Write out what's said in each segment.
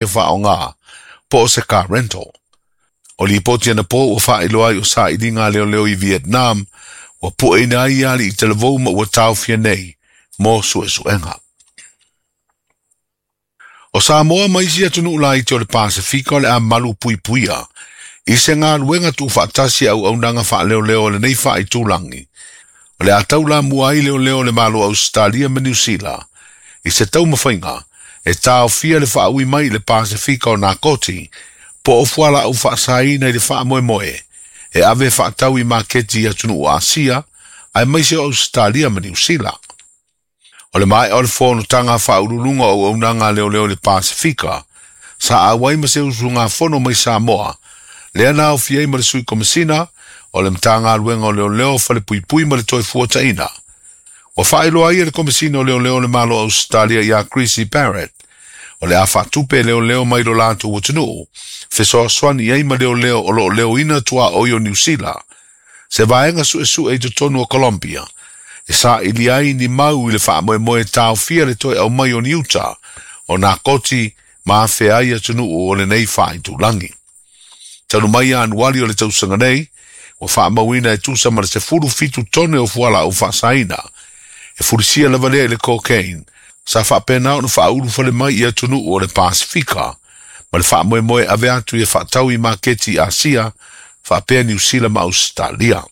Faaaoga po o se car rental. O lipoti anapo ua faailoa ai o sailiga a leoleo i Vietnam ua pueina ai alii talavou ma ua taofia nei mo suesuega. O Samoa ma isi atunuu laiti o le Pasefika o le a malu puipuia i se galuega tuufaatasi a auaunaga faaleoleo a lenei faaitulagi o le a taulamua ai leoleo o le Malo o Ausetalia ma Niu Sila i se taumafaiga e taofia le faaui mai i le Pasefika o nakoti po o fualaau faasaina i le faamoemoe e ave faatau i maketi i atunuu o Asia aemaise o Ausetalia ma Niu Sila. O le maea o le fonotaga faauluuluga o auaunaga a leoleo i le Pasefika sa auai ma se usugafono mai Samoa lea na aofia ai ma le Sui Komesina o le Matagaluega o Leoleo Falepuipui ma le Toefuataiga. Ua faailoa ai e le Komesina o Leoleo o le Malo o Ausetalia ia Chrissy Barrett o le a faatupe leoleo mai lo latou atunuu fesoasoani i ai ma leoleo o lo o leoina tuaoi o Niu Sila se vaega suesue i totonu o Colombia e saili ai ni mau i le faamoemoe e taofia le toe aumai o ni uta o nakoti ma afea ai atunuu o lenei faaitulagi. Talu mai Ianuali o le tausaga nei, ua faamauina e tusa ma le 17 tone o fualaau faasaina e fulisia lava lea i le cocaine sa faapena ona faaulufale mai i atunuu o le Pasefika ma le faamoemoe ave atu ia faatau i maketi i Asia faapea Niu Sila ma Ausetalia.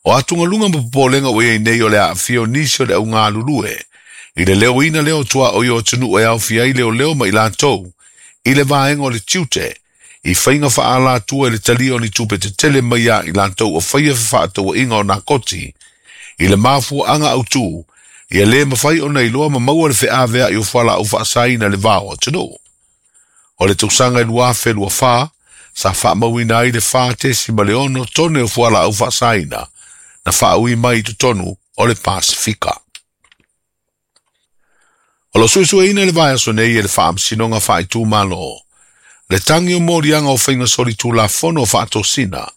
O atugaluga ma popolega ua i ai nei o le aafia o nisi o le augalulue i le leoina lea o tuaoi o atunuu e aofia ai leoleo ma i latou i le vaega o le tiute i faiga faaalatua i le talia o ni tupe tetele mai ia i latou o faia fefaatauaiga o nakoti i le mafuaaga autū ia lē mafai ona iloa ma maua le feaveai o fualaau faasaina i le va o atunuu. O le tausaga e 2024 sa faamauina ai le 4.6 tone o fualaau faasaina na faaui mai i totonu o le Pasefika. O lo o suesueina i le vaiaso nei e le Faamasinoga Faaitumalo le tagi o moliaga o faiga solitulafono o faatosina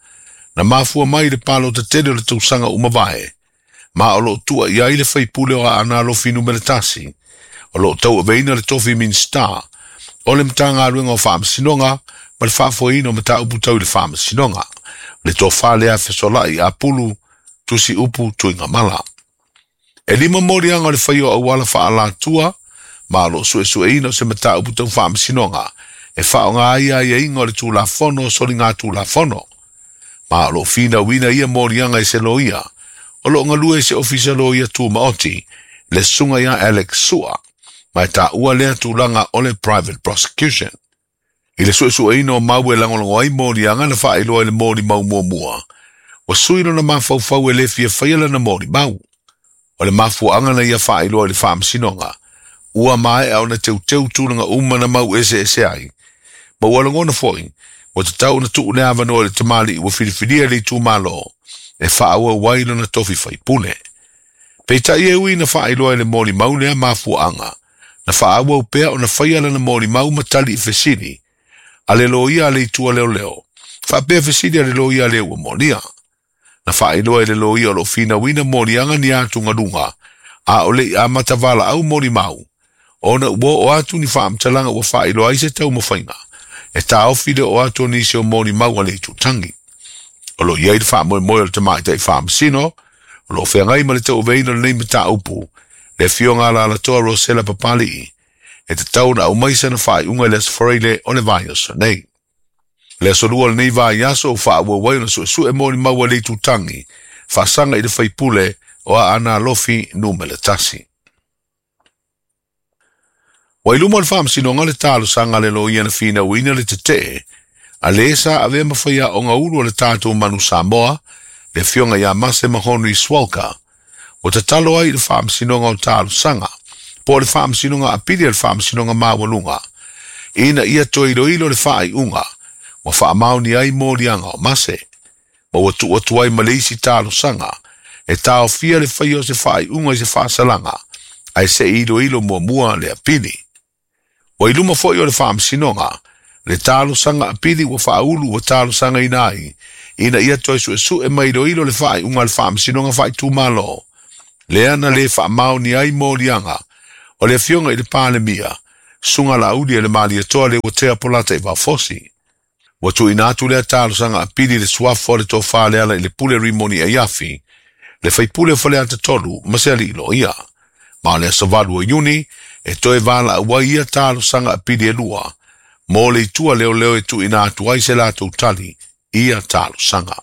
na mafua mai i le palota tele o le tausaga ua mavae ma o lo o tua i ai le faipule o Aana Alofi Numera 1 o lo o tauaveina le tofi Minisita o le Matagaluega o Faamasinoga ma le faafoeina o mataupu tau i le Faamasinoga, le tofa lea Fesolai Apulu Tusi Upu Tuigamala. E 5 moliaga o le faia o auala faaalatua ma o lo o suesueina o se mataupu tau Faamasinoga e faaaoga ai aiaiga o le Tulafono o Soligatulafono ma o lo o finauina ia moliaga i se loia o lo o galue i se ofisa loia tumaoti le susuga ia Alex Sua ma e taua lea tulaga o le private prosecution. I le suesueina o mau e lagolago ai moliaga na faailoa i le molimau muamua, ua sui lona mafaufau e le fia faia lana molimau. O le mafuaaga na ia faailoa i le Faamasinoga, ua maea ona teuteu tulaga uma na mau eseese ai, ma ua lagona foi ua tatau ona tuu le avanoa i le tamalii ua filifilia i le itumalo e faaauau ai lona tofi faipule. Peitai e ui na faailoa i le molimau lea mafuaaga, na faaauau pea ona faia lana molimau ma tali i fesili a le loia a le itu a leoleo, faapea fesili a le loia a le ua molia. Na faailoa i le loia o lo o finauina moliaga ni atugaluga a o le i amata valaau molimau, ona ua oo atu ni faamatalaga ua faailoa ai se taumafaiga e taofi le oo atu o nisi o molimau a le itutagi. O lo o i ai le faamoemoe o le tamaitai faamasino o lo o feagai ma le tauaveina o lenei mataupu, le afioga a Alalatoa Rosela Papalii, e tatau ona aumai sana faaiuga i le Aso Faraile o le vaiaso nei. Le aso lua o lenei vaiaso ua faaauau ai ona suesue molimau a le itutagi faasaga i le faipule o Aana Alofi Numera 1. Ua i luma o le Faamasinoga le talosaga a le loia na finauina le tetee a le sa avea ma faiaoga ulu o le tatou Manu Samoa, le afioga ia Mase Mahonri Swalka, ua tatalo ai i le Faamasinoga o Talosaga, po o le Faamasinoga Apili a le Faamasinoga Maualuga, ina ia toe iloilo le faaiuga ua faamaonia ai moliaga o Mase, ma ua tuu atu ai ma le isi talosaga e taofia le faia o se faaiuga i se faasalaga ae se i iloilo muamua le apili. Ua i luma foi o le Faamasinoga le talosaga apili ua faaulu ua talosagaina ai ina ia toe suesue ma iloilo le faaiuga a le Faamasinoga Faaitumalo lea na le faamaonia ai moliaga o le afioga i le Palemia Susuga Laaulialemalietoa Leuatea Polataivao Fosi. Ua tuuina atu lea talosaga apili i le suafa o le Tofa Lealailepule Rimoni Aiafi, le faipule o Faleata 3 ma se alii loia. Ma o le aso 8 o Iuni e toe valaau ai ia talosaga apili e lua mo le itu a leoleo e tuuina atu ai se latou tali i ia talosaga.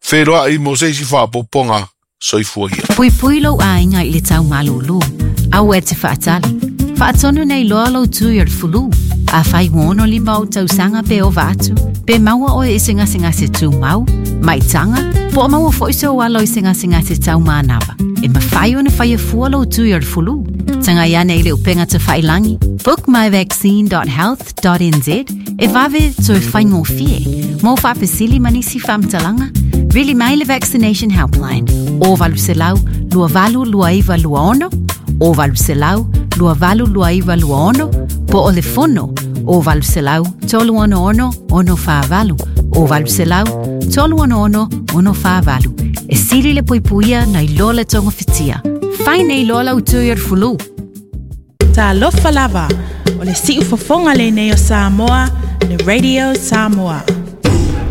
Feiloai mo se isi faaopoopoga. Soifua ia. Puipui lou aiga i le tau malūlū. Aua e te faatali. Faatonu nei loa lou tui o le fulu. Afai ua 65 ou tausaga pe ova atu, pe maua oe i se gasegase tumau, maitaga, po o maua foi sou alo i se gasegase tau manava, e mafai ona faia fua lou tui o le fulu. Tagai ane i le upega tafailagi bookmyvaccine.health.nz e vave toe faigofie. Mo faafesili ma nisi faamatalaga, vili mai le Vaccination Helpline o 800 282926 o 800 282926 po o le fono o 800 366 648 o 800 366 648. E sili le puipuia nai lo le togafitia. Fai nei loa lau tui o le fulu. Talofa lava, o le siufofoga lenei o Samoa, le Radio Samoa.